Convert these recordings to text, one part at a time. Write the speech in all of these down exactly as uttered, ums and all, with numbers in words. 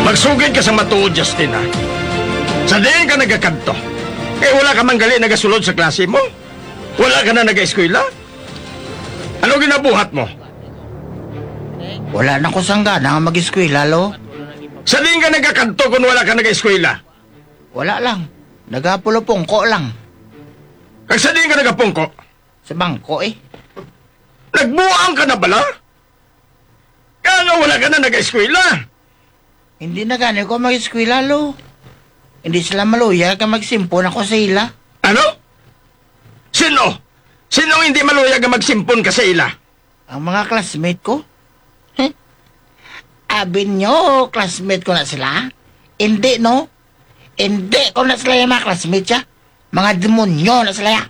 Magsugid ka sa matuod, Justin, ha? Sa diin ka nagakadto? Eh, wala ka man gali nagasulod sa klase mo? Wala ka na nag-eskwela? Ano ginabuhat mo? Wala na ko sang gana nga mag-eskwela, lo. Sa diin ka nagakadto kung wala ka nag-eskwela? Wala lang. Nagapulupungko lang. Kag sa diin ka nagapungko? Sa bangko, eh. Nagbuang ka na bala? Kaya nga wala ka na nag-eskwela? Hindi na gani ko mag-eskwela, lo. Hindi sila maluyag nga magsimpon ako sa ila. Ano? Sino? Sino ang hindi maluyag nga magsimpon ka sa ila? Ang mga classmate ko. Heh. Abi nyo, classmate ko na sila? Hindi, no? Hindi ko na sila yung mga classmate siya. Mga demonyo na sila ya.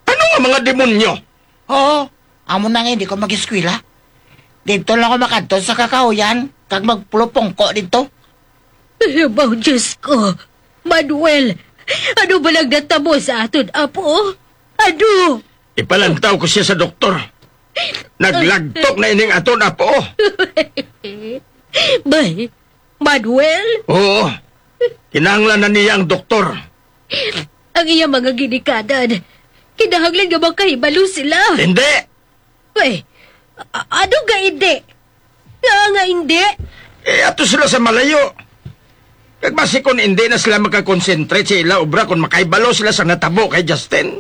Ano nga mga demonyo? Oo, amo na nga hindi ko mag-eskwela. Dito lang ako makadto sa kakahuyan, kag magpulupungko dito. Pero ba, Diyos ko, Manuel, ano ba lang natabo sa aton apo? Ano? Ipalantaw ko siya sa doktor. Naglagtok na ining aton apo. Bay, Manuel? Oo. Kinahanglan na niya ang doktor. Ang iya mga ginikanan, kinahanglan nga makahibalo sila. Hindi. Bay, a- ano nga hindi? Nga nga hindi? Eh, ato sila sa malayo. Kag basi kung hindi na sila makakonsentrate sa ila obra kung makahibalo sila sa natabo kay Justin.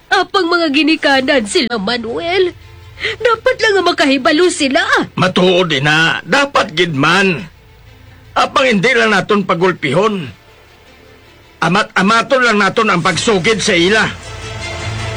Apang mga ginikanan sila, Manuel. Dapat lang nga makahibalo sila. Matuod ina, dapat gid man. Apang hindi lang naton pagulpihon. Amat-amaton lang naton ang pagsugid sa ila.